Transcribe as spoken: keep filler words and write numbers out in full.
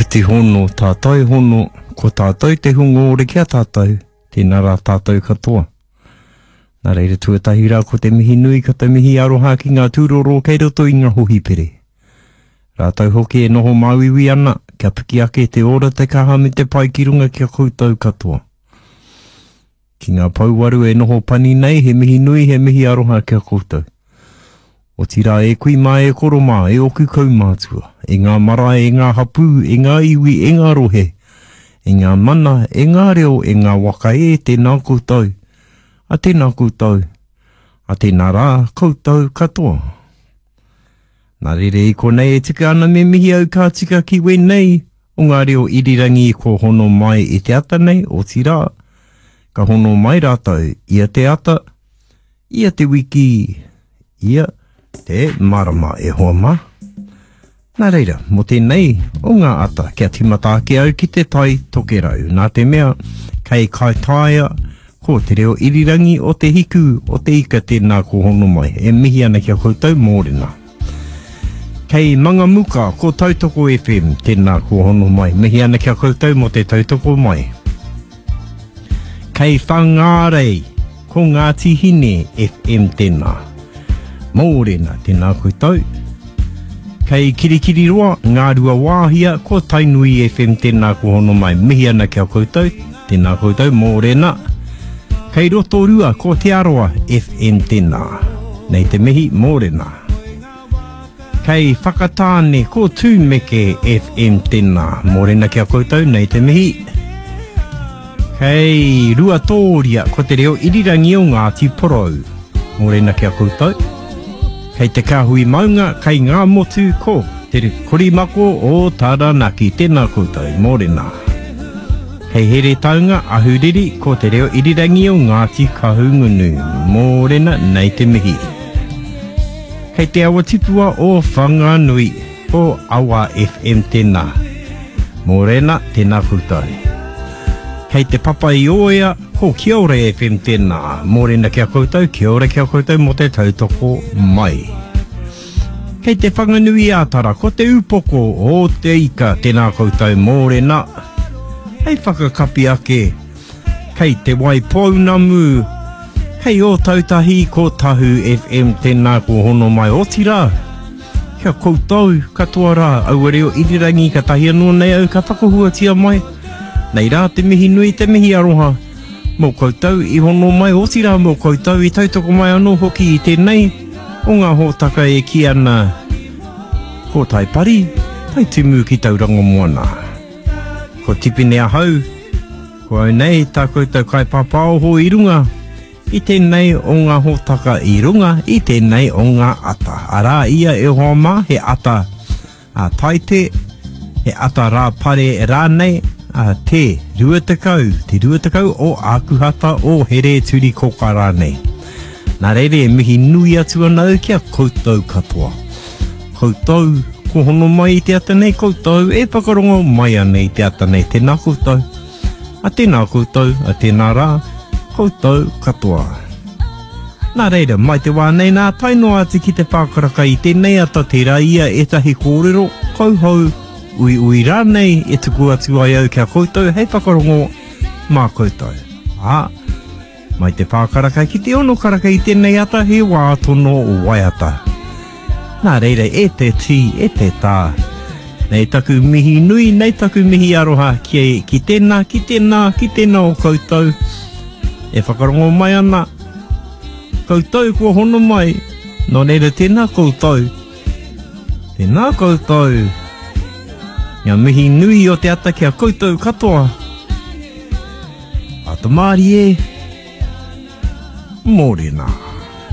Whakawhiti hono, tātou hono, ko tātou te hunga ore ki a tātou, tēnā rā tātou katoa. Nā reira tuatahi rā ko te mihi nui, ko te mihi aroha ki ngā tūroro kei roto i ngā hohipere. Rātou hoki e noho māuiui ana, kia piki ake te ora te kaha me te pai ki runga ki a koutou katoa. Ki ngā pouwaru e noho pani nei, he mihi nui, he mihi aroha ki a koutou. Otirā e kui mā e koro mā, e oku kaumātua, e ngā marae, e ngā hapū, e ngā iwi, e ngā rohe, e ngā mana, e ngā reo, e ngā waka e, tēnā koutou, a tēnā koutou, a tēnā rā koutou katoa. Nā rere i konei e tika ana me mihi au ka tika ki wēnei o ngā reo irirangi ko hono mai i te ata nei, otirā, ka hono mai rātou ia te ata, ia te wiki, ia te marama e hoa mā. Nā reira, mō tēnei o ngā ata, kia tīmata ake au ki te tai tokerau. Nā te mea, kei Kaitaia, ko te reo irirangi o te hiku o te ika tēnā ko hono mai. E mihi ana ki a koutou mōrena. Kei Mangamuka, ko Tautoko F M, tēnā ko hono mai. Mihi ana ki a koutou mō te tautoko mai. Kei Whangārei, ko Ngāti Hine F M tēnā. Mōrena, tēnā koutou. Kei Kirikiriroa, Ngā Ruawāhia, ko Tainui F M tēnā ko hono mai. Mihi ana ki a koutou, tēnā koutou, mōrena. Kei Rotorua, ko Te Arawa F M tēnā. Nei te mihi, mōrena. Kei Whakatāne, ko Tūmeke F M tēnā. Mōrena ki a koutou, nei te mihi. Kei Ruatōria, ko te reo irirangi o Ngāti Porou. Mōrena ki a koutou. Kei te Kāhui Maunga, kei ngā motu, ko te Korimako o Taranaki. Tēnā koutou, mōrena. Kei Heretaunga, Ahuriri, ko te reo irirangi o Ngāti Kahungunu. Mōrena, nei te mihi. Kei te awa tipua o Whanganui, ko Awa F M tēnā. Mōrena, tēnā koutou. Kei te papa i Oea, ko Kia Ora F M tēnā. Mōrena ki a koutou, kia ora ki a koutou mō te tautoko mai. Kei te Whanganui ā-Tara, ko te upoko o te ika, tēnā koutou mōrena. Hei whakakapi ake, kei te Waipounamu, kei Ōtautahi, ko Tahu F M tēnā ko hono mai otirā. Kia koutou katoa rā, aua reo irirangi ka tahi anō nei au ka whakahuatia mai. Nei rā te mihi nui, te mihi aroha. Mō koutou i hono mai, otirā mō koutou i tautoko mai anō hoki i tēnei o ngā hōtaka e kī ana ko Taipari, Taitimu ki Tauranga Moana. Ko Tipene ahau, ko au nei tā koutou kaipāpāoho i runga i tēnei o ngā hōtaka i runga i tēnei o ngā ata. Arā ia e hoa mā, he ata a Taite, he ata rā pare rānei, a te rua tekau, te rua tekau o Ākuhata o Here Turi Koka rānei. Nā reira e mihi nui atu ana au ki a koutou katoa. Koutou, ko hono mai i te ata nei, koutou e whakarongo mai ana i te ata nei. Tēnā koutou, a tēnā koutou, a tēnā rā, koutou katoa. Nā reira, mai te wā nei nā, tae noa atu ki te whākaraka i tēnei ata tērā ia ētahi kōrero, kauhou, ui ui rānei e tuku atu ai au ki a koutou hei whakarongo mā koutou. Ā, mai te whākaraka ki te ono karaka i tēnei ata he wā tono waiata. Nā reira, e te tī, e te tā. Nei taku mihi nui, nei taku mihi aroha ki, ki tēnā, ki tēnā, ki tēnā o koutou. E whakarongo mai ana, koutou kua hono mai, nō reira tēnā koutou. Tēnā koutou. Ngā mihi nui o te ata ki a koutou katoa. Ata mārie, mōrena.